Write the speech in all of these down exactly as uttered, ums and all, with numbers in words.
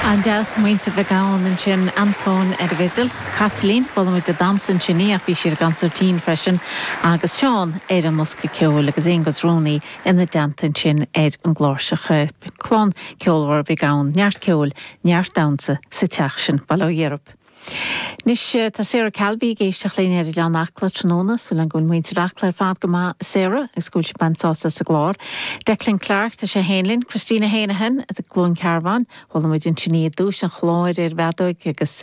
An-deas muintir Mhic Gabhann ansin Antóin ar an bhfidil, Caitlín bhuail muid ag damhsa ansin í ach bhí sí ar an gconsairtín freisin agus Seán ar an mbosca ceoil agus Aonghus Rooney ina dteannta ansin ar an gcláirseach clann ceolmhar Mhic Gabhann neart ceoil neart damhsa sa teach sin Bail ó Dhia oraibh. Anois tá Sarah Calvey ag éisteacht linn ar Oileán Acla tráthnóna súil agam go bhfuil muintir Acla ar fad go maith Sarah is go bhfuil sibh ag baint sásamh as an gclár. Declan Clark tá sé féin linn, Christina Hanahan i gCluain Cearbán, chuala muid ansin í i dtús an chláir ar bhfeadóig agus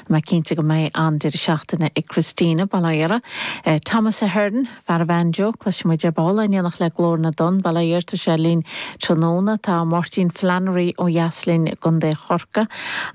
mé cinnte go mbeidh an-deireadh seachtaine ag Christina Bail ó Dhia uirthi. Thomas Ahern fear an bhanjo cloisfimid ar ball in éineacht le Glór na dTonn Bail ó Dhia air tá sé linn tráthnóna tá Máirtín Flannery ó dheas linn i gContae Chorcaí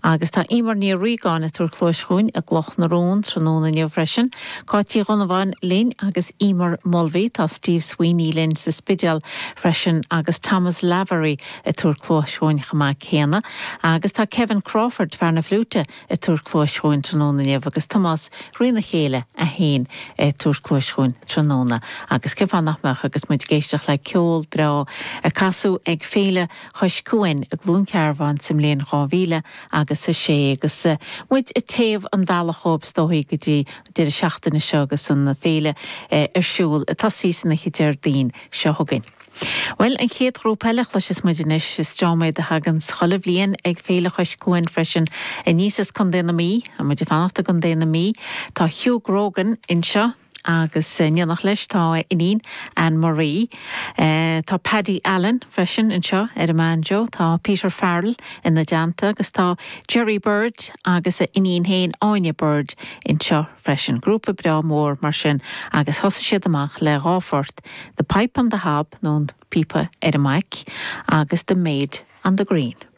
agus tá Emer Ní Riagáin ag tabhairt cluais chugainn i gCloch na Rón tráthnóna inniu freisin. Cáit Uí Dhonnabháin linn agus Emer Mulvey tá Steve Sweeney linn sa Spidéal freisin agus Thomas Lavery ag tabhairt cluais chugainn chomh maith céanna, agus tá Kevin Crawford fear na fliúite ag tabhairt cluais chugainn tráthnóna inniu agus Tomás rína chéile a haon ag tabhairt cluais chugainn tráthnóna. agus cén fáth nach mbeadh agus muid ag éisteacht le ceol breá a casadh ag Féile Chois Cuain i gCluain Cearbán sa mbliain dhá mhíle agus a sé agus muid ag téamh an bhealach ó is dóigh go dtí deireadh seachtaine seo agus an féile ar siúl tosaí san oíche Déardaoin seo chugainn. Well an chéad ghrúpa eile chloisfeas muid anois is dream iad a thagann chuile bhliain ag Féile Chois Cuain freisin aníos as Contae na Mí, a muid ag fanacht i gContae na Mí, Tá Hugh Grogan anseo agus in éineacht leis tá iníon Anne Marie. Uh, tá Paddy Allen freisin anseo ar an mbanjo, tá Peter Farrell ina dteannta agus tá Jerry Bird agus a iníon féin Áine Bird anseo freisin. Grúpa breá mór mar sin agus thosaigh siad amach le dhá phort, The Pipe on the Hob nó an píopa ar an mbaic agus The Maid on the Green.